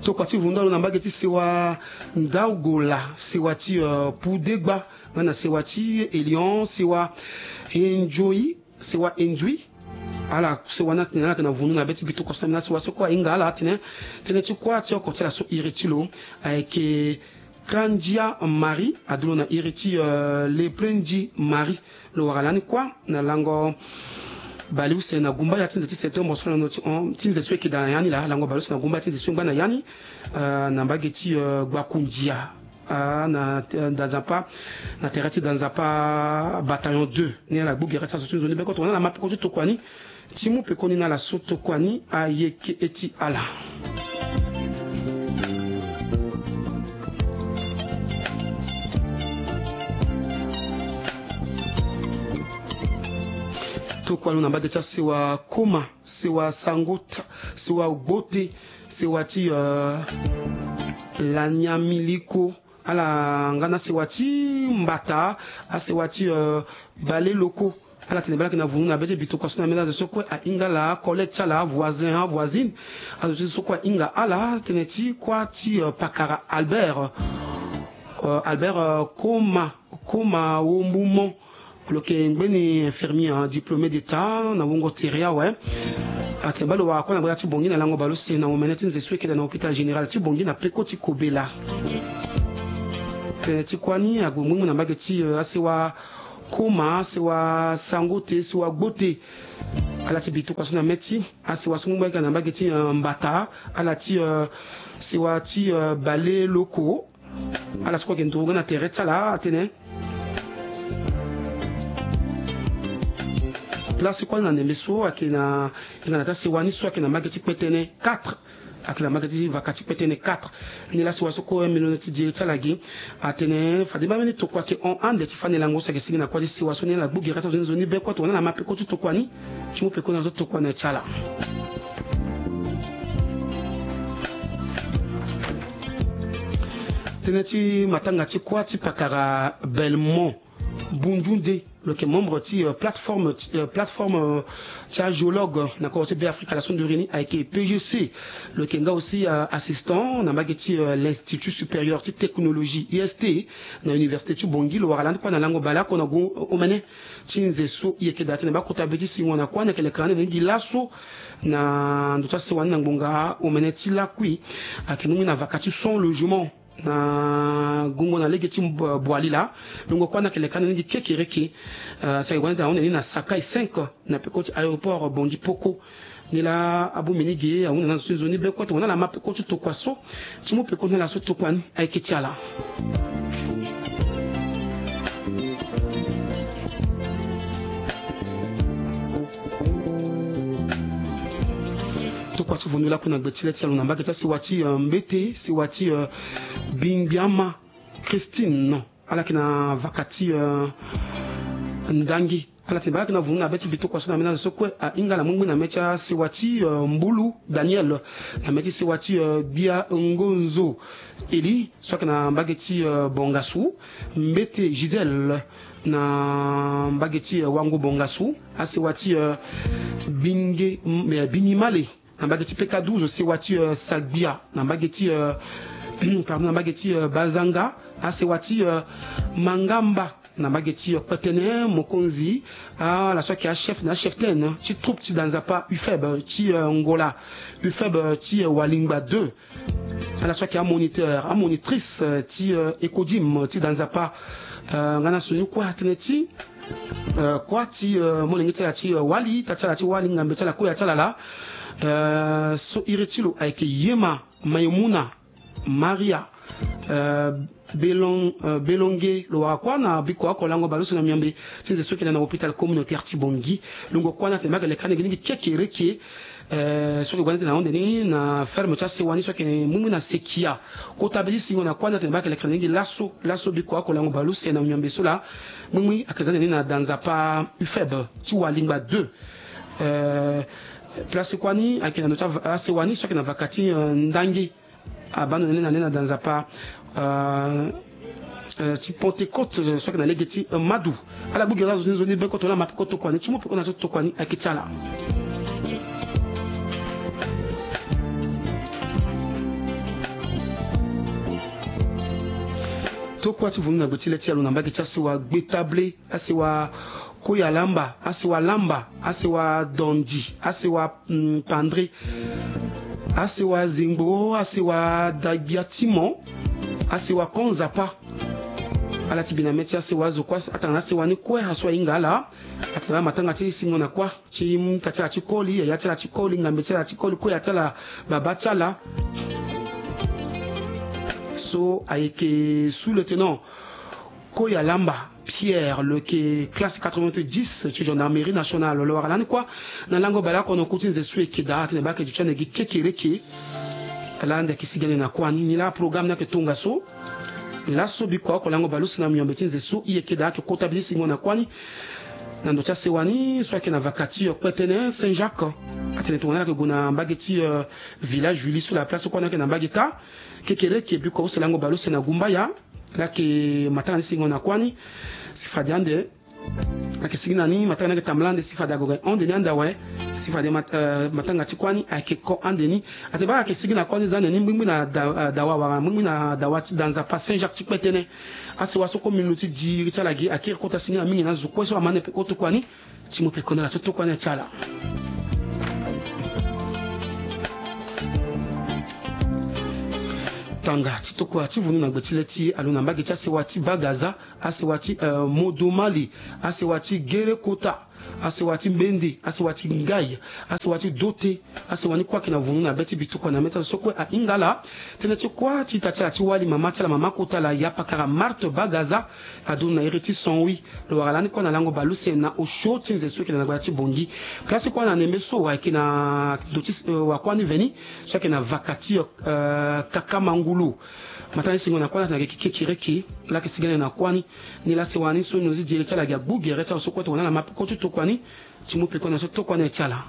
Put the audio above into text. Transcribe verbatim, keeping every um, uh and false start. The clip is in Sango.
Tokua ti vundu alo na mbage ti sewa Ndaogola, sewa ti, euh, Pudegba, nga na sewa ti Elion, sewa Enjoi, sewa Enjui. Ala sewa ni atene ala yeke na vundu na be ti bitokoso na mena sewa so kue ahinga ala atene. Tënë ti kuâ ti oko ti ala so iri ti lo ayeke Krandia Marie, adu lo na iri ti, euh, Leprenji Marie. Lo wara lani kuâ na lango baleuse na gumbaya ti nze ti septembre so na no ti hon, ti nze so eke daa na ya ni laa, lango baleuse na gumbaya ti nze so e ngba na ya ni, euh, na mbage ti, euh, Gbakundia, euh, na, euh, Danzapa, na tere ti Danzapa bataillon deux. Ni ala gbu gere ti azo ti nzoni be kue tongana ala ma peko ti tokua ni. Ti mu pekoni na ala so tokua ni ayeke e ti ala. Tokua lo na mbage ti asewa Koma, sewa Sango, sewa Gbote, sewa ti, euh, Laniamiliko, ala nga na sewa ti Mbata, asewa ti, euh, Baleloko. Ala tene bale ayeke na vundu na be ti bitokoa so na mena azo so kue ahinga ala, collègue ti ala, voisin, avoisine. Azo ti so kue ahinga ala, tënë ti kuâ ti, euh, pakara Albert. Euh, Albert, euh, Koma, Koma Wombumo. Lo yeke ngbeni infirmier, hein, diplômé d'état na wungo tere awe. Atene bale lo wara kue na gbata ti Bangui na lango baleuse na omene ti nze so eke daa na hôpital général ti Bangui na peko ti kobela. Tënë ti kuâ ni agbu ngbingbi na mbage ti, euh, asewa Koma, sewa Sango te, sewa Gbote. Ala ti bitokoa so na mê ti asewa so ngbingbi ayeke na mbage ti, euh, Mbata, ala ti, euh, sewa ti, euh, Baleloko. Ala so kue ayeke nduru nga na tere ti ala atene. Place kue na ndembe so ayeke na, e nga na ti asewa ni so ayeke na mbage ti Kpetene quatre. Ayeke na mbage ti vaka ti Kpetene quatre. Ni laa sewa so kue mbi londo ti di ti ala ge. Atene fade mbeni tokua ayeke hon ande ti fani lango so ayeke sigi na kuâ ti sewa so ni ala gbu gere ti azo ni nzoni be kue tongana ala ma peko ti tokua ni. Ti mu peko na azo ti tokua na ya ti ala. Tënë ti matanga ti kuâ ti pakara Belmont Bunjunde. Lo yeke membre ti, euh, plateforme ti, euh, plateforme, euh, ti agéologue na kodro ti Beafrika, la so nduru ni ayeke P G C. Lo yeke nga aussi, euh, assistant na mbage ti, euh, l'Institut supérieur ti technologie, I S T, na université ti Bangui. Lo wara lani kue na lango baleoko na gu omene ti nze so e yeke daa tënë baa kota be ti singo na kuâ ni ayeke lekere ande na ni gi laso na ndo ti asewa ni na ngbonga omene ti lakui. Ayeke mu ngbingbi na vaka ti cent logements na gungo na lege ti Boali laa. Lo ngo kuâ ni ayeke lekere ande na ni gi kekereke. Euh, si ayeke wani daa ahunda ni na Sakai cinq na peko ti aéroport Bangui Poko. Ni laa abongbi ni ge ahunda na azo ti nzoni be kue tongana ala ma peko ti tokua so. Ti mu peko na ala so tokua ni ayeke ti ala. Tokua ti vundu lakui na gbe ti le ti alo na mbage ti asewa ti, euh, Mbete, sewa ti, euh, Bingbiama Christine. Ala yeke na vaka ti, euh, ndangi. Ala tene baa ala yeke na vundu na be ti bitokoa so na mê ti azo so kue ahinga ala mu ngbingbi na mê ti asewa ti, euh, Mbulu Daniel, na mê ti sewa ti, euh, Gbia Ngonzo Eli so ayeke na mbage ti, euh, Bongasu, Mbete Gisèle na mbage ti, euh, Wango Bongasu, asewa ti, euh, Binge, mm, euh, Binimale na mbage ti P K douze, sewa ti, euh, Sagbia na mbage ti, euh, pardon, na mbage ti, euh, Bazanga, asewa ti, euh, Mangamba na mbage ti, euh, Kpetene, mokonzi, ah, ala so ayeke achef na acheftaine ti troupe ti danzapa UFEB ti, euh, Ngola, UFEB ti, euh, Walingba deux. Ala so ayeke amoniteur, amonitrice, euh, ti, euh, Ecodim ti danzapa, euh, nga na sioni kue atene ti, euh, kue ti, euh, molenge ti ala ti, euh, wali, ta ti ala ti wali, ngambe ti ala, koya ti ala laa, euh, so iri ti lo ayeke Yema Maimuna Maria, euh, Belon-, euh, Belonge. Lo wara kue na biko oko lango baleuse na miombe ti nze so ayeke na hôpital communautaire ti Bangui. Lo ngo kue na atene baa ayeke lekere ande gi ni gi kekereke. Euh, so ayeke wani tene ahunda ni na ferme ti asewa ni so ayeke mu ngbingbi na Sekia. Kota be ti singo na kue na atene baa ayeke lekere ande gi laso, laso biko oko lango baleuse na miombe so laa. Mu ngbingbi ayeke za ande ni na danzapa UFEB ti Walingba deux. Euh, place kue ni ayeke na ndo ti ava-, asewa ni so ayeke na vaka ti, euh, ndangi. Abando na ni na ni na danzapa, euh, euh, ti Pentecôte, euh, so ayeke na lege ti, euh, Madu. Ala gbu gere na azo ti nzoni be kue tongana ala ma peko tokua ni, ti mu peko na azo ti tokua ni ayeke ti ala. Tokua ti vundu na gbe ti le ti alo na mbage ti asewa Gbetablé, asewa Koyalamba, asewa Lamba, asewa Dondi, asewa, mm, Pandré, asewa Zengbo, asewa Dagbia Timon, asewa Konzapa. Ala ti bi na mê ti asewa azo kue, atanga na asewa ni kue aso ahinga ala. Atanga na matanga ti singo na kuâ ti, mm, tata ti ala ti koli, yaya ti ala ti koli, ngambe ti ala ti koli, koya ti ala, baba ti ala. So ayeke sous-lieutenant Koyalamba Pierre, lo yeke classe quatre-vingt-dix ti gendarmerie nationale. Lo wara lani kuâ na lango baleoko na ku ti nze so e yeke daa, atene baa ayeke duti ande gi kekereke. Ala ande ayeke sigi ande na kuâ ni. Ni laa programme ni ayeke tongaso. Laso bikua oko lango baleuse na miombe ti nze so e yeke daa ayeke kota bi ti singo na kuâ ni. Na ndo ti asewa ni so ayeke na vaka ti, euh, kpe tënë Saint-Jacques. Atene tongana ala yeke gue na mbage ti, euh, village Julie so la place kuâ ni ayeke na mbage kâ. Kekereke bikua use lango baleuse na gumbaya. Ala yeke matanga ni singo na kuâ ni. Si fade ande ayeke sigi na ni, matanga ni ayeke tambala ande, si fade ague hon ande ni ande awe. Si fade mat-, euh, matanga ti kuâ ni ayeke ko ande ni. Atene baa ayeke sigi na kuâ ni za ande ni, ngbingbi na da-, euh, dawa wala ngbingbi na dawa ti da nzapa Saint-Jacques ti kpe tënë. Asewa so komi lo ti di iri ti ala gi akiri kota sigi na mingi na azo kue so amani pe ko tokua ni. Ti mu peko na ala so tokua ni ti ala. Tanga ti tokua ti vundu na gbe ti le ti alo na mbage ti asewa ti Bagaza, asewa ti, euh, Modomali, asewa ti Gerekota, asewa ti Mbende, asewa ti Ngaye, asewa ti Dote, asewa ni kue ayeke na vundu na be ti bi tokua na mê ti azo so kue ahinga ala. Tënë ti kuâ ti ita ti ala ti wali, mama ti ala, mama kota ala, ya pakara Marthe Bagaza, adumu na iri ti Saint-Louis. Lo wara lani kue na lango baleuse na osio ti nze so ayeke na gbata ti Bangui. Place kuâ na ndembe so ayeke na ndo ti, euh, wa kuâ ni veni so ayeke na vaka ti, euh, Kakamangulu. Matanga ni singo na kuâ ni atene ayeke kekereke. Ala yeke sigi ande na kuâ ni. Ni laa asewa ni so ni lo ti di iri ti ala gi agbu gere ti azo so kue tongana ala ma peko ti tokua ni. Ti mu peko na so tokua ni ti ala.